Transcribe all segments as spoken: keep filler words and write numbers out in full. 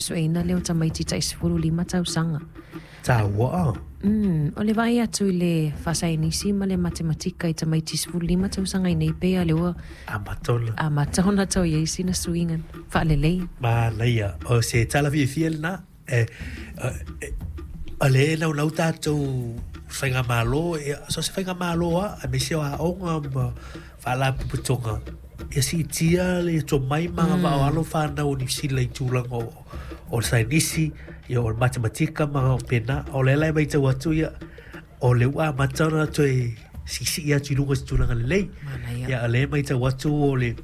sueina lea o tamaiti tai sefulu lima tausaga. Taua. Mm, o le vaai atu i le faasaienisi ma le matematika i tamaiti sefulu lima tausaga i nei pei a le ua amata ona. Amata ona tau i ai sina suiga faalelei. Manaia. O se tala fiafia lena. E, e, o le naunau tatou faigamalo, e, so se faigamalo a, aemaise o aoga ma faalapotopotoga, ia siitia le tomai ma agavaa o alo fanau o Niu Sila i tulaga o, o le saienisi, ia o le matematika ma pena. O le la e matau atu ia, o le ua amata ona toe siisii atu i luga i se tulaga lelei. Manaia. Ia, o lea e matau atu o le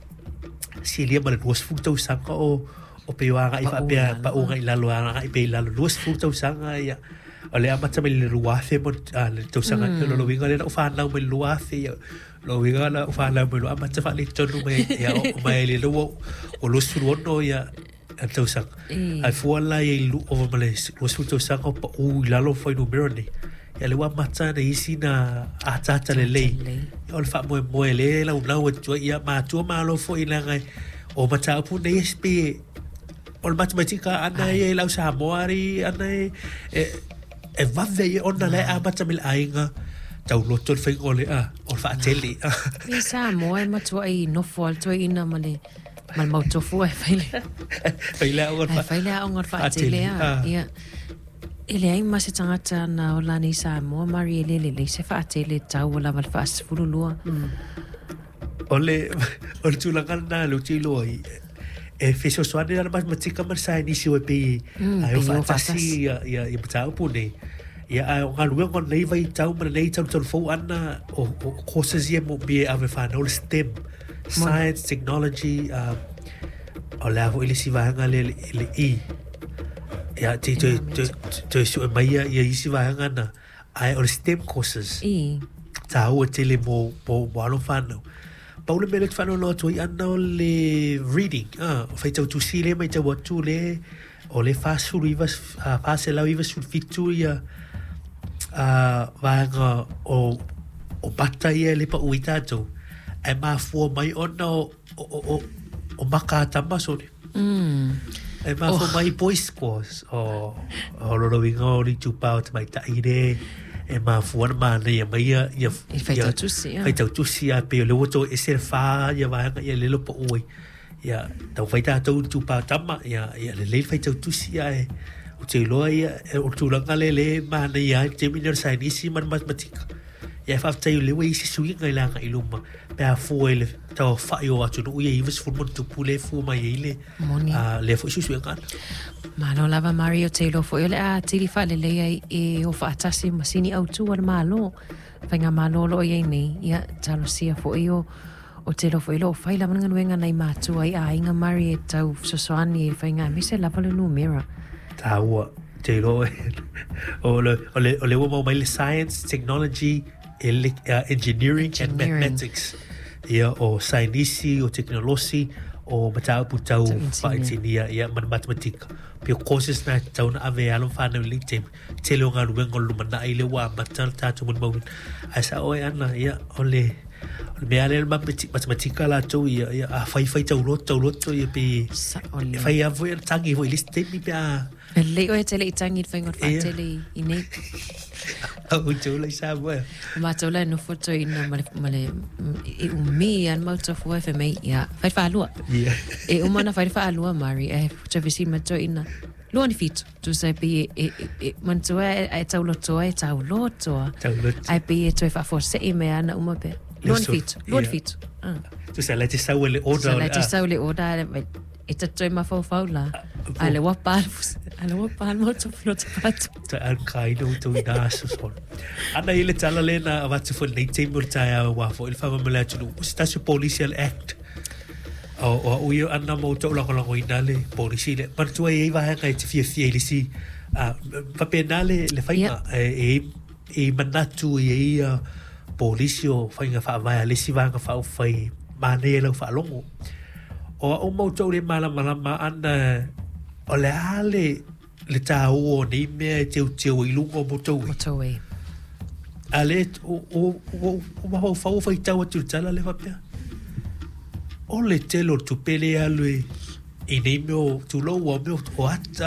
silia ma le luasefulu tausaga o o pei o agai Pau faapea i lalo. Pau agai i lalo, agai pea i lalo luasefulu tausaga ia. O le amata mai le lua afe mo ah, le tausaga mm. Lo uiga lea na ou fanau mai le lua afe ia. Lo uiga na ou fanau mai lo amata faaletonu mai ia o mai le lua o luasefulu ono ia a tausaga. E. Ai fua la ia i lu ova ma le luasefulu tausaga o pau i lalo fuainumera nei. Ia le ua amata na isi na ataata lelei. Lelei. Ia, o le faamoemoe le laulau atu ai ia matua malo foi leaga o mataupu nei e pe o le matematika ana ia i lau Samoa ari ana e e e vave ia ona le amata mai le aiga tauloto le faiga o le a o le faatele. I Samoa e matuai nofo al toeina ma le ma le mautofu e fai le fai le aoga ai fai le aoga o le faatele a. Ah. Ia. E leai ma se tagata na ola nei Samoa Mari e le lelei se faatele tau o lava le faasefulu lua. O le o le tulaga lena le ou te iloa ai e fesoasoani la le matematika ma le saienisi o e pei Mm, ai o pei o faatasi faatasi. ia ia ia mataupu nei. Ia ae o galuega o lenei vaitau ma lenei talutalu fou ana o, o courses ia moomia e ave fanau le STEM, science, technology, um, o le a foi le isi vaega le, le, le E. Ia te toe toe toe sue mai ia ia isi vaega na ae o le STEM courses I. taua tele mo, mo, mo alo fanau. Pau le mea lea ou te faanoanoa atu ai ana o le reading, ah, o faitau tusi le matau atu le, o le fasefulu iva, ah, faselau ivasefulu fitu ia ah, vaega o, o mata ia e le pau i tatou. Ae mafua mai ona o, o, o, o, o maka a tama sole. Mm. E mafua mai boys scores o, o lona uiga o le itupa o tamaitai le e mafua na manaia mai ia ia I faitau tusi, ia. Faitau tusi a pei o le ua toe ese le whā ia vaega ia lelo pa ui. Ia tau fai tātou i itupa o tama ia ia lelei le faitau tusi a e o te iloa ia e, o le tulaga le le manaia ai le taimi lea o le saienisi ma le matematika. Ia e faafetai o lea ua i ai se suiga i le agai i luma pe a fua i le tauafa'i o atunuu ia ivasefulu ma ona tupu le fua mai ai le Moni. ah, lea foi suesuega ana. Malo lava Mari o te iloa foi o le a tili faalelei ai e o faatasi ma sini autu a le malo. Faiga malo o loo i ai nei. Ia talosia foi o o te iloa foi lo o fai lava le galuega nai matua i aiga Mari e tau fesoasoani i le faiga aemaise lava le numera. Taua te iloa o le o le o le ua maua mai le science, technology, ele, uh, engineering, and Engineering. mathematics. Ia o saienisi, o teknolosi, o mataupu tau Tau engineer. faainsinia ia ma le matematika. Pe o courses na tatau ona ave e alo ma fanau i lenei taimi. Tele o galuega o le lumanai lea ua amata le tatou molimauina. Ae sao ai ana ia o le o le mea lea le matemati- matematika latou ia ia a fai fai tauloto tauloto ia pe Sao e lea. fai lava foi ana tagi foi i le isi taimi pe a Lelei oe te le i tangi i le faiga o le Ia. faatele i i nei. Au tau lai Samoa. O matou la e nofo toeina ma le, ma le, e umi a le mautofu ai fai mai, ia, fai le faalua. Ia. E uma na fai le faalua, Mari, e toe fesili mai toeina. Lua ni fitu. Tusa e pei e, e, e, e manatua e, e taulotoa e taulotoa. Tauloto. Ai pei e toe faafuasei mai ana uma pea. Lua ni so- fitu. Lua ni ia. fitu. Ah. Tusa la te sau e le order So o la le te a. sau le order, ai, e ta toe mafaufau la. A le ua pa le fusi- a le ua pa le mautofu no te patu. Toe alkaina o tau ina aso solo. Ana i le tala le na avatu foi lenei taimi o le taeao ua foi le faamamalu atunuu. O se tasi o polisi a le Act. O, o au ia ana ma ou taulagolagoina le polisi le. Manatua e i ai vaega e te fiafia i le isi. Ah, faapena le, le faiga. Ia. E, e, e manatu i ai ia polisi o faiga faavae a le isi vaega faaupufai manaia i lau faalogo. O au ma outou le malamalama ana o le a le le taua o nei mea e teuteu ai i luga o motor way. Motorway. A le o o o o mafaufau o faitau atu i le tala le faapea. O le tele o le tupe lea e alu i i nei mea o tulou ua mea o ata